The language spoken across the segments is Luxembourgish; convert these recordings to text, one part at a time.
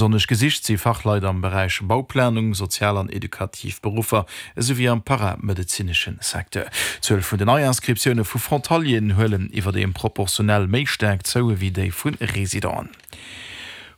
Besonnesch gesicht si Fachleit am Beräich Bauplanung, sozial an edukativ Beruffer, esou wéi am paramedezinesche Secteur. D'Zuel vun den Neiinscriptioune vu Frontalieren huelen iwwerdeem proportionell méi staark zou ewéi déi vu Residenten.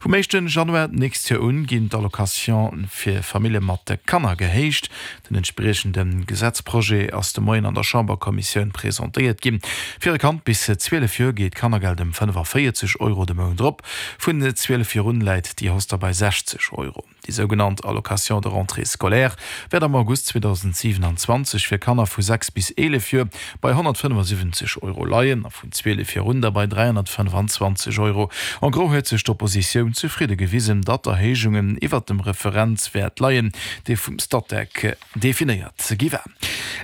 Vum éischten Januar d'nächst Joer un ginn d'Allocation fir Famillje mat Kanner gehéicht. Den entspriechende Gesetzprojet ass de Moien an der Chamberkommissioun presentéiert ginn. Fir e Kand bis 12 Joer geet d'Kannergeld ëm 45 Euro de Mount erop. Vun 12 Joer un läit déi Hausse da bei 60 Euro. Déi sougenannt Allocation de rentrée scolaire wäert am August 2027 fir Kanner vu 6 bis 11 Joer bei 175 Euro leien a vun 12 Joer un da bei 325 Euro. En gros huet sech d'Oppositioun zefridde gewisen, datt d'Erhéijungen iwwert dem Referenzwäert leien, dee vum Statec Definéiert gi war.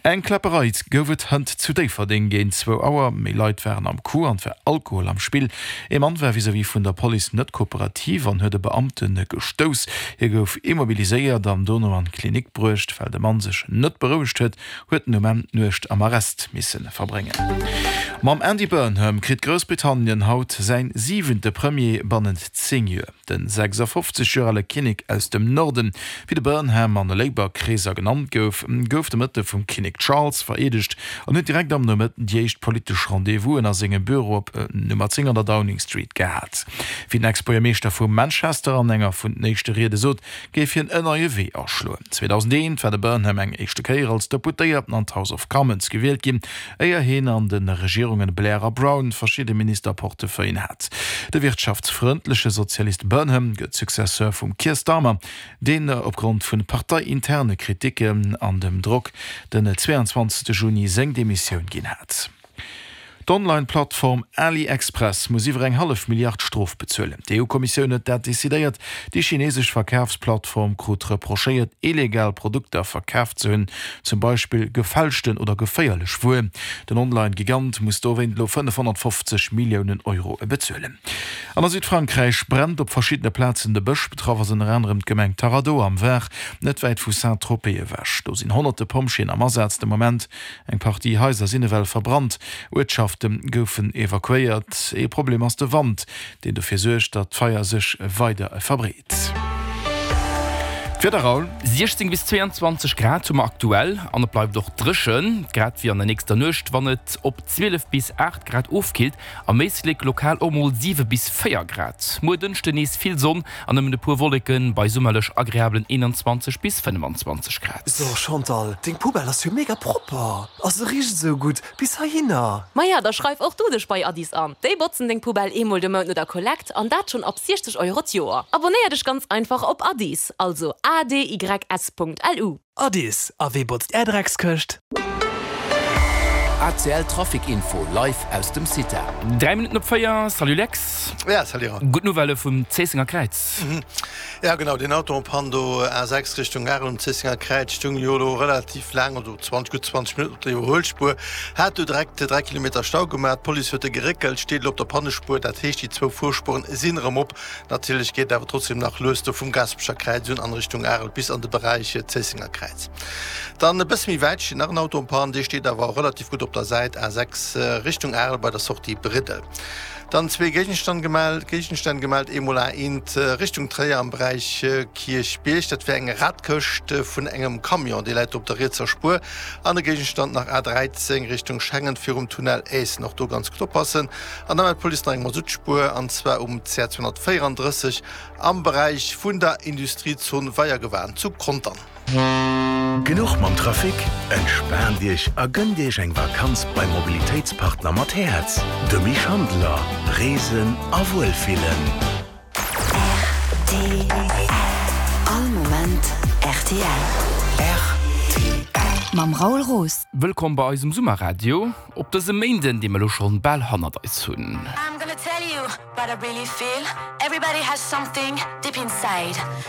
Eng Kläpperei gouf et hënt zu Déifferdeng géint zwou Auer. Méi Leit waren am Coup an et war Alkohol am Spill. Ee Mann war vis-à-vis vun der Police net kooperativ an huet e Beamte gestouss. Hie gouf immobiliséiert an dono an d'Klinik bruecht. Well de Mann sech net berouegt huet, huet en um Enn d'Nuecht am Arrest misse verbréngen. Mam Andy Burnham kritt Groussbritannien haut säin siwente Premier bannent 10 Joer. Den 56 Joer ale Kinnek aus dem Norden, wéi de Burnham an de Labour-Kreeser genannt gouf, gouf de Mëtte vum Kinnek Charles vereedegt an huet direkt am Nomëtten déi éischt politesch Rendez-vousen a sengem Büro op Nummer 10 an der Downing Street gehat. Wéi den Ex-Buergermeeschter vu Manchester an enger vun den éischte Riede sot, géif hien en neie Wee aschloen. 2001 war de Burnham eng éischte Kéier als Deputéierten an d'House of Commons gewielt ginn, éier hien an de Regierungen Blair a Brown verschidde Ministerportefeuillen hat. De wirtschaftsfrëndleche Sozialist Burnham gëtt Successeur vum Keir Starmer, deen opgrond vu parteiinterne Kriticken an dem Drock den 22 Juni seng Demissioun ginn hat. D'Online-Plattform AliExpress muss iwwer eng hallef Milliard Strof bezuelen. D'EU-Kommissioun huet dat decidéiert. Déi chinesesch Verkafsplattform krut reprochéiert, illegal Produkter verkaf ze hunn, zum Beispill gefälschten oder geféierlech Wuer. Den Online-Gigant muss dowéint elo 550 Milliounen Euro bezuelen. An a Südfrankräich brennt op verschiddene Plazen de Bësch. Betraff ass ënner anerem d'Gemeng Taradeau am Var, net wäit vu Saint-Tropez ewech. Do sinn honnerte Pompjeeën am Asaz de Moment. Eng Partie Haiser sinn ewell verbrannt, Uertschafte goufen evakuéiert. Ee Problem ass de Wand, deen dofir suergt, datt d'Feier sech weider verbreet. D'Wieder, Raoul. 16 bis 22 Grad hu mer aktuell an et bleift och dréchen, grad wéi an der nächster Nuecht, wann et op 12 bis 8 Grad ofkillt. Am Éislek lokal och mol 7 bis 4 Grad. Muer Dënschde nees vill Sonn an nëmmen e puer Wolleken, bei summerlech agreablen 21 bis 25 Grad. So Chantal, deng Poubelle ass jo mega propper a se richt esou gutt bis heihinner. Maja, da schreif och du dech bei Addis an. Déi botzen deng Poubelle eemol de Mount no der Kollekt an dat schonn ab 60 Euro d'Joer. Abonnéier dech ganz einfach op Addis, also adys.lu. Addis, a wee botzt är Dreckskëscht? ACL Trafic Info live aus dem CITA. 3 Minutten op 4, Salut Lex. Ja, salut Raoul. Gutt Nouvellë vum Zéissenger Kräiz. Ja genau, deen Auto en panne do A6 Richtung Arel um Zéissenger Kräiz stung jo elo relativ laang, also 20, gutt 20 Minutten op der Iwwerhuelspuer, hat do direkt 3 Kilometer Stau gemaach. D'Police huet e geréckelt, steet elo op der Pannespuer, dat heescht déi zwou Fuerspueren sinn erëm op. Natierlech geet et awer trotzdem nach lues do vum Gaasperecher Kräiz un an Richtung Arel bis an de Beräich Zéissenger Kräiz. Dann e bësse méi wäit steet nach en Auto en panne, dee steet awer relativ gutt op der Säit A6 Richtung Arel bei der Sortie Briddel. Dann zwee Géigenstand gemellt, Géigenstänn gemellt, eemol A1 Richtung Tréier am Beräich Kierchbierg, dat wär eng Radkëscht vun engem Camion, déi läit do op der rietser Spuer, an e Géigenstand nach A13 Richtung Schengen virum Tunnel Aessen, och do ganz gutt oppassen. An da mellt d'Police nach eng Masuttspuer, an zwar um CR 234 am Beräich vun der Industriezon Weiergewan zu Contern. Genuch mam Trafic? Entspaant Iech a gënnt Iech eng Vakanz beim Mobilitéitspartner mat Häerz, dem Misch Handeler. Reesen a Wuelfillen. Rtl. All Moment rtl. Rtl. Mam Raoul Roos. Wëllkomm bei eisem Summerradio op dësem Méinden, dee mer elo schonn bal hannert eis hunn.